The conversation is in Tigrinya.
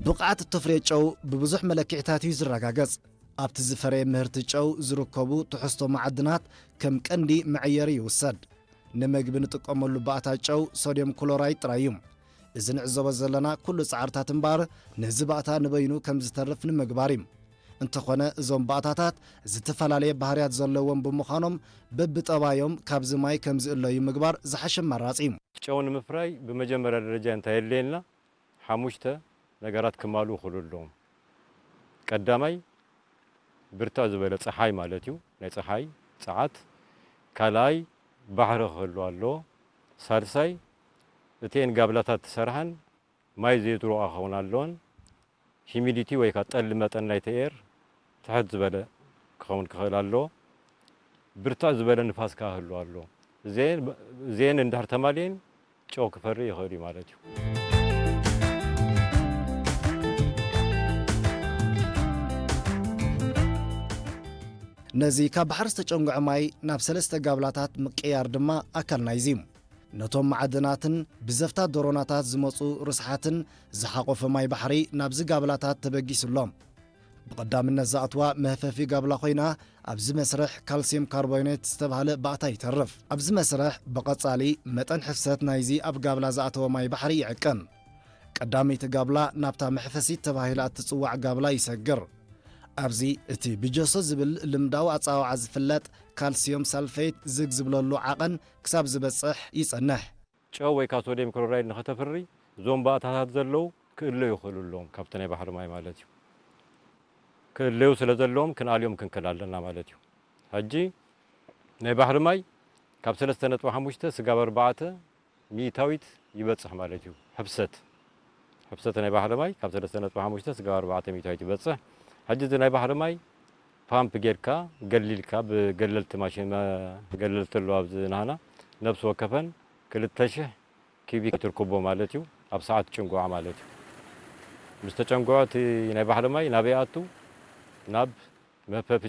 ብቕዓት እተፍርዮ ጨው ብብዙሕ መለክዒታት እዩ ዝረጋገጽ። ኣብቲ ዝፈረየ ምህርቲ ጨው ዝርከቡ ትሕዝቶ መዓድናት ከም ቀንዲ መዐየሪ ይውሰድ። ንምግቢ ንጥቀመሉ ባእታ ጨው ሶድየም ክሎራይድ ጥራይ እዩ። እዚ ንዕዘቦ ዘለና ኩሉ ጻዕርታት እምበኣር ነዚ ባእታ ንበይኑ ከም ዝተርፍ ንምግባር እዩ። እንተኾነ እዞም ባእታታት ዝተፈላለየ ባህርያት ዘለዎም ብምዃኖም በብጠባዮም ካብዚ ማይ ከም ዝእለዩ ምግባር ዝሓሸ ኣማራጺ እዩ። ጨው ንምፍራይ ብመጀመርያ ደረጃ እንታይ የድልየና? ሓሙሽተ ነገራት ክማልኡ ክኽእሉ ኣለዎም። ቀዳማይ ብርትዕ ዝበለ ጸሓይ ማለት እዩ፣ ናይ ጸሓይ ጸዓት። ካልኣይ ባሕሪ ክህሉ ኣለዎ። ሳልሳይ እተን ጋብላታት ትሰርሓን ማይ ዘይትሩቓ ክኸውን ኣለዎን። ሂሚዲቲ ወይ ከዓ ጠሊ መጠን ናይቲ ኤር ትሕት ዝበለ ክኸውን ክኽእል ኣለዎ። ብርትዕ ዝበለ ንፋስ ከዓ ክህሉ ኣለዎ። እዚአን እዚአን እንድሕር ተማልየን ጨው ክፈሪ ይኽእል እዩ ማለት እዩ። ነዚ ካብ ባሕሪ ዝተጨንጉዐ ማይ ናብ ሰለስተ ጋብላታት ምቅያር ድማ ኣካል ናይዚ እዩ። ነቶም መዓድናትን ብዘፍታት ደሮናታት ዝመጹ ርስሓትን ዝሓቆፈ ማይ ባሕሪ ናብዚ ጋብላታት ተበጊሱ ኣሎ። ብቐዳምነት ዝኣትዋ መህፈፊ ጋብላ ኮይና፣ ኣብዚ መስርሕ ካልሲየም ካርቦኔት ዝተባህለ ባእታ ይተርፍ። ኣብዚ መስርሕ ብቐጻሊ መጠን ሕፍሰት ናይዚ ኣብ ጋብላ ዝኣተወ ማይ ባሕሪ ይዕቀን። ቀዳመይቲ ጋብላ ናብታ መሕፈሲት ተባሂላ እትጽዋዕ ጋብላ ይሰግር። ኣብዚ እቲ ብጀሶ ዝብል ልምዳዊ ኣጸዋውዓ ዝፍለጥ ካልሲየም ሳልፌት ዝግ ዝብለሉ ዓቐን ክሳብ ዝበጽሕ ይጸንሕ። ጨው ወይ ከዓ ሶድየም ክሎራይድ ንኸተፍሪ እዞም ባእታታት ዘለዉ ክእለዩ ይኽእሉ ኣለዎም ካብቲ ናይ ባሕሪ ማይ ማለት እዩ። ክእለዩ ስለ ዘለዎም ክንኣልዮም ክንክእል ኣለና ማለት እዩ። ሕጂ ናይ ባሕሪ ማይ ካብ ሰለስተ ነጥቢ ሓሙሽተ ስጋብ ኣርባዕተ ሚእታዊት ይበጽሕ ማለት እዩ። ሕፍሰት፣ ሕፍሰት ናይ ባሕሪ ማይ ካብ ሰለስተ ነጥቢ ሓሙሽተ ስጋብ ኣርባዕተ ሚእታዊት ይበጽሕ። ሕጂ እዚ ናይ ባሕሪ ማይ ፓምፕ ጌርካ ገሊልካ ብገለልቲ ማሽን፣ መ-፣ ገለልቲ ኣለዋ ኣብዚ ናህና፣ ነብሲ ወከፈን ክልተ ሽሕ ኪቢክ ትርክቦ ማለት እዩ። ኣብ ሰዓት ጭንጉዓ ማለት እዩ። ምስ ተጨንጉዐ እቲ ናይ ባሕሪ ማይ ናበይ ይኣቱ? ናብ መህፈፊ